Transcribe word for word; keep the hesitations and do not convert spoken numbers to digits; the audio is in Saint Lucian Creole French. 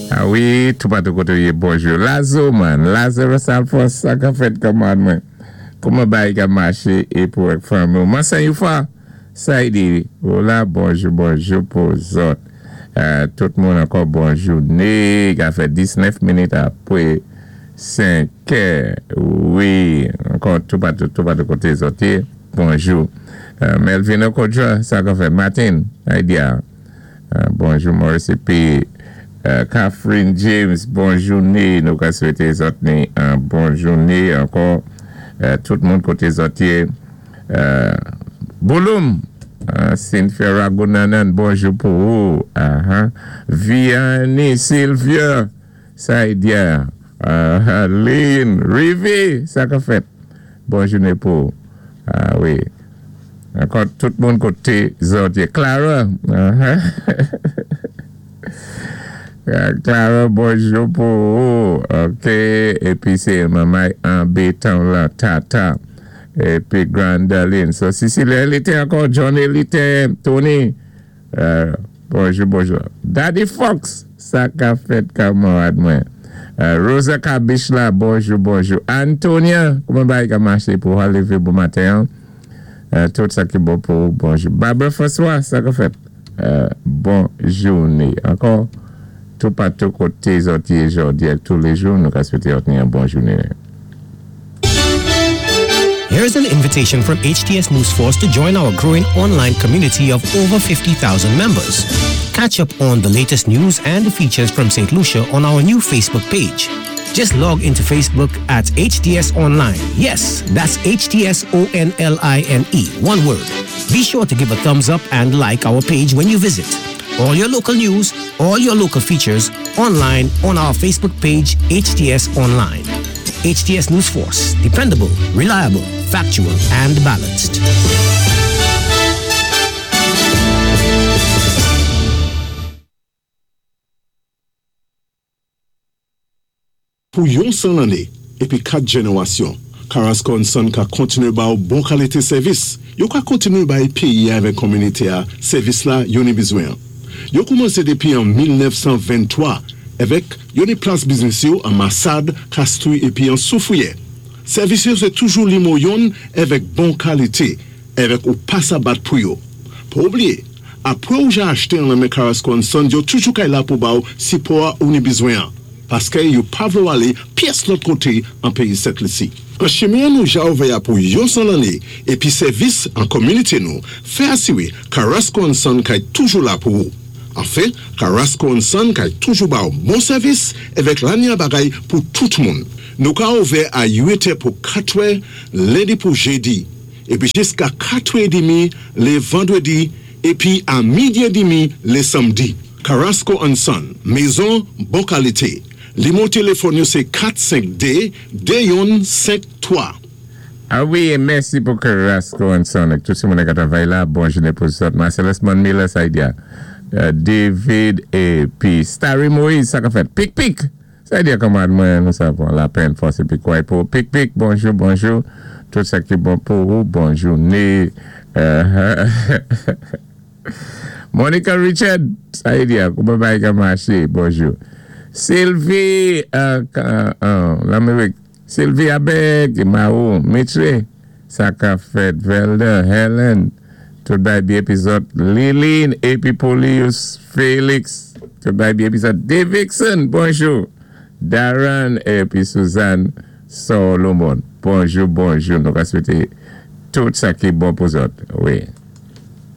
A wi, toupatou koté ou yé, bonjou. Lazo man, Lazarus Alphonse, sa ka fèt kòman mwen? Kouman bagay ka maché é pou èk fanmi? Mansan Youfa, sa y di, la, bonjou, bonjou pou zòt. Euh, tout moun ankò bonjou. Né, ka fè diznèf minit apwé senk è. Wi, ankò toupatou, toupatou koté zòt yé, bonjou. Euh, Melvin Okodja, sa ka fèt. Martin, Idea. Euh, bonjou Maurice épi euh, Catherine James, bonjou né, nou ka swété zòt ni yon bon jouné ankò. Euh, tout moun koté zòt yé. Euh, Bouloum, euh, Cynthia Ragunanan, bonjou pou ou. Uh-huh. Vianney Sylvia, sa y di. Uh, Lynn, Rivi, sa ka fèt. Bon jouné pou ou. A wi. Ankò tout moun koté zòt yé. Clara. Uh-huh. Clara, bonjou pou ou. OK. Épi sé manman anbétan la, Tata. Épi Grandaline. So, Cecilia Elite ankò, Johnny Elite, Tony. Euh, bonjou, bonjou. Daddy Fox, sa ka fèt kanmarad mwen. Euh, Rosa Kabish la, bonjou, bonjou. Antonia, kouman bagay ka maché pou lévé bon maten? Hein? Euh, tout sa ki bon pou ou, bonjou. Barbara François, sa ka fèt. Euh, bon jouné. Ankò, toupatou koté zòt yé jòdi a toulé jou, nou ka swété yon bon jouné. Here's an invitation from H T S News Force to join our growing online community of over fifty thousand members. Catch up on the latest news and features from Saint Lucia on our new Facebook page. Just log into Facebook at H T S Online. Yes, that's H T S O N L I N E, one word. Be sure to give a thumbs up and like our page when you visit. All your local news, all your local features online on our Facebook page, H T S Online. H T S News Force, dependable, reliable, factual, and balanced. Pou yon san lanné, épi kat jénéwasyon, Carrasco and Son ka kontiné ba ou bon kalité sèvis. Yo ka kontiné bay péyi avèk kominité a sèvis la yo ni bizwen. Yo koumansé dépi an mil nèf san venntwa avèk yo ni plas biznis yo an Massade, Castries épi an Soufrière. Sèvis yo sé toujou nimewo youn avèk bon kalité, avèk ou pa sa bat pou yo. Pa oubliyé, apwé ou ja achté an men Carrasco and Son, yo toujou kay la pou ba ou sipò ou ni bizwen. Paské yo pa vlé ou alé pyès lòt koté an péyi Sent Lisi. An chimen nou ja ouvè pou yon san lanné épi sèvis an kominité nou, fè asiwé Carrasco and Son kay toujou la pou ou. Anfen, Carrasco and Son kay toujou ba ou bon sèvis avèk lanya bagay pou tout moun. Nou ka ouvè a uit è pou kat è, lendi pou jédi, épi jiska kat è demi lé vandwédi, épi a midi édmi lé samdi. Carrasco and Son, mézon bon kalité. Nimewo téléfòn yo sé kat senk dé de youn senk twa. A wi, mèsi pou Carrasco and Son. Tout moun ki travay la, bon jouné pou zòt. Marcellus Miller, sa y di. Euh, David épi Starry Moïse, sa ka fèt. Pik pik. Sa y di kòman mwen, nou savon la peine force épi quoi pour pik pik, bonjou, bonjou. Tout sa ki bon pou ou, bon jouné. Euh, Monica Richard, sa y di, kouman bagay ka maché, bonjou. Sylvie, euh, euh, Lamérik, Sylvie Abeg, Maou, Mitre, sa ka fèt, Velda, Helen, tout bagay byen épi zòt, Liline, épi Polius, Félix, tout bagay byen épi zòt, Davidson, bonjou, Darren, épi Suzanne Solomon, bonjou, bonjou, nou ka swété tout sa ki bon pou zòt, wi.